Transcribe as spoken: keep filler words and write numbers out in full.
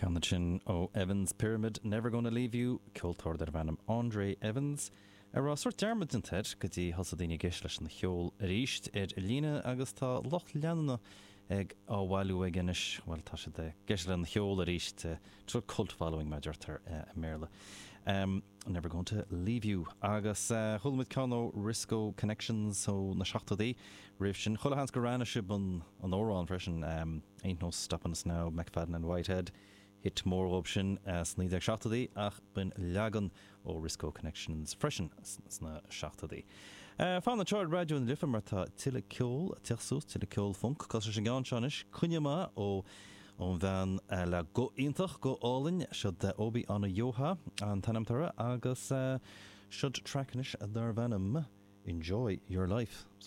Ceann sin ó Evans Pyramid Never Gonna Leave You ceoltóir darbh ainm Andre Evans. A raibh sórt dearmad déanta air go dtí thosaigh daoine ag éisteacht leis an cheol arís ar líne agus tá lucht leanúna ag á bhailiú aige anois bhuel tá siad ag éisteacht lena cheol arís tá cult following mar a deirtear i mBéarla. Um, never going to leave you agus uh, chuala muid ceann ó Risco Connections ó na seachtóidí roimh sin chuile sheans gur aithin sibh an an amhrán freisin um, Ain't no stopping us now McFadden and Whitehead. Hit mór dóibh sin uh, sna naoi déag seachtóidí ach b'in leagan ó Risco Connections freisin sna seachtóidí. Uh, Fan anseo ar Raidió na Life mar tá tuilleadh ceoil ag teacht suas tuilleadh ceol funk cos sin gan seis cunneama ó ón bhean uh, le guth iontach go hálainn siod de Obi Onuoha an t-ainm uirthi agus uh, siod track anois darbh ainm Enjoy Your Life.